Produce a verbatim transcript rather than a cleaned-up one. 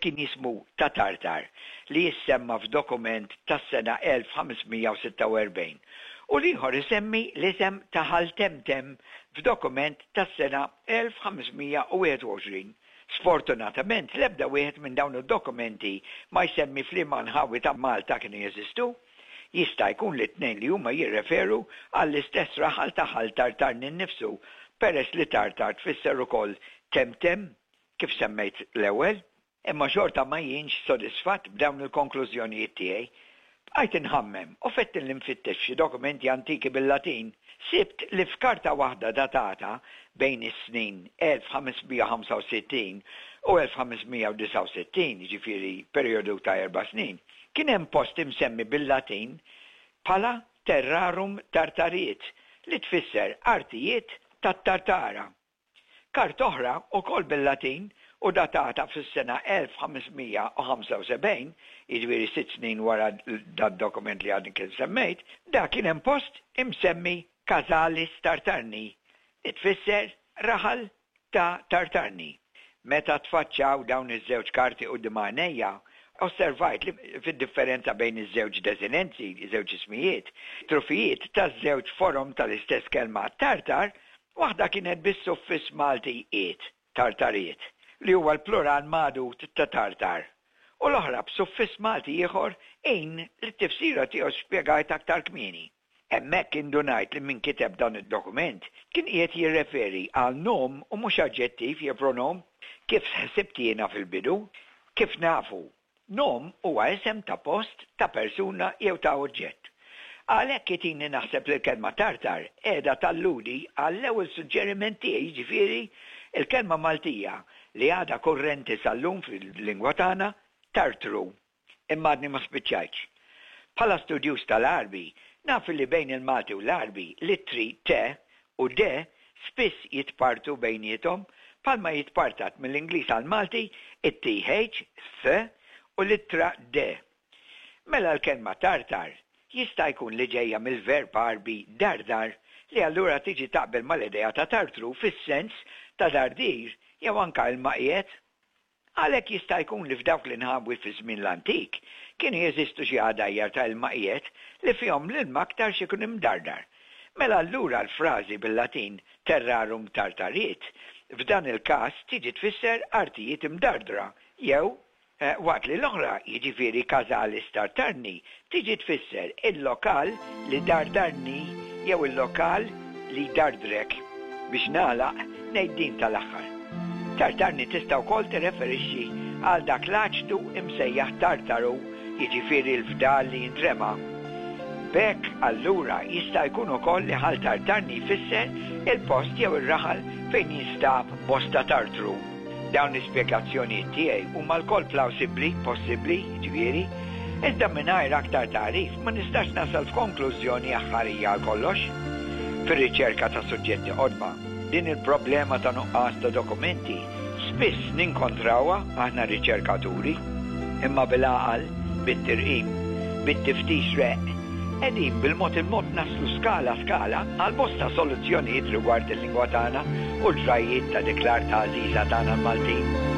kien jismu ta' Tartar li jissemma f'dokument tas-sena elf ħames mija u sitta u erbgħin u l-ieħor isemmi l-isem ta' Ħal Temtem f'dokument tas-sena elf ħames mija u wieħed u għoxrin. Sfortunatament l-ebda wieħed minn dawn id-dokumenti ma jsemmi f'liema nħawi ta' Malta kienu jeżistu. Jista' jkun li t-tnejn li huma jirreferu għall-istess raħal ta' Ħal Tartarni nnifsu, peress li Tartar tfisser ukoll Temtem, kif semmejt l-ewwel. Imma xorta ma jienx sodisfatt b'dawn il-konklużjonijiet tiegħi. Bqajt inħammem u fettin li nfittex f'xi dokumenti antiki bil-Latin. Sibt li f'karta waħda datata bejn is-snin elf ħames mija u ħamsa u sittin u elf ħames mija u disgħa u sittin, jiġifieri perjodu ta' erba' snin, kien hemm post imsemmi bil-Latin bħala Terrarum Tartariet, li tfisser artijiet tat-Tartara. Karta oħra, ukoll bil-Latin u datata fis-sena elf ħames mija u ħamsa u sebgħin, jiġifieri sitt snin wara dad-dokument li għadni kif semmejt, da kien hemm post imsemmi Casalis Tartarni, li tfisser raħal ta' Tartarni. Meta tfaċċaw dawn iż-żewġ karti quddiem għajnejja, osservajt li fid-differenza bejn iż-żewġ desinenzi, iż-żewġ ismijiet, trufijiet taż-żewġ forom tal-istess kelma Tartar, waħda kienet bis-suffiss Malti iet, Tartariet, li huwa l-plural magħdud ta' Tartar, u l-oħra b'suffiss Malti ieħor in li t-tifsira tiegħu spjegajt aktar kmieni. Hemmhekk indunajt li min kiteb dan id-dokument kien qiegħed jirreferi għal nom u mhux aġġettiv jew pronom, kif ħsibt jiena fil-bidu. Kif nafu, nom huwa isem ta' post, ta' persuna jew ta' oġġett. Għalhekk itini naħseb li l-kelma Tartar qiegħda talludi għall-ewwel suġġeriment tiegħi, jiġifieri il-kelma Maltija li għadha kurrenti sal-lum fil-lingwa tagħna, Tartru. Imma għadni ma spiċċajtx. Bħala studjuż tal-Għarbi, naf li bejn il-Malti u l-Għarbi l-ittri T u D spiss jitpartu bejniethom bħalma jitpartat mill-Ingliż għall-Malti it-T H, Th u l-ittra D. Mela l-kelma Tartar jista' jkun li ġejja mill-verb Għarbi dardar li allura tiġi taqbel mal-idea ta' Tartru fis-sens ta' dardir jew anka ilma qiegħed. Għalhekk jista' jkun li f'dawk l-inħawi fi żmien l-antik kienu jeżistu xi għadajjar ta' ilma qiegħed li fihom l-ilma aktarx ikun imdardar. Mela allura l-frażi bil-Latin terrarum tartariet f'dan il-każ tiġi tfisser artijiet imdardra jew, eh, waqt li l-oħra, jiġifieri Casalis Tartarni, tiġi tfisser il-lokal li dardarni jew il-lokal li dardrek. Biex nagħlaq ngħid din tal-aħħar. Tartarni tista' wkoll tirreferixxi għal dak l-aċtu imsejjaħ tartaru, jiġifieri l-fdal li jintrema. B'hekk allura jista' jkun ukoll li Ħal Tartarni jfisser il-post jew ir-raħal fejn jinstab bosta tartru. Dawn l-ispjegazzjonijiet tiegħi huma lkoll plawsibbli, possibbli, jiġifieri, iżda mingħajr aktar tagħrif ma nistax nasal f'konklużjoni aħħarija għal kollox. Fir-riċerka ta' suġġetti qodma, din il-problema ta' nuqqas ta' dokumenti spiss ninkontrawha aħna riċerkaturi, imma bil-għaqal, bit-tirqim, bit-tiftix req, qegħdin bil-mod il-mod naslu skala skala għal bosta soluzzjonijiet rigward il-lingwa tagħna u l-ġrajjiet ta' dik l-art għażiża tagħna l-Maltin.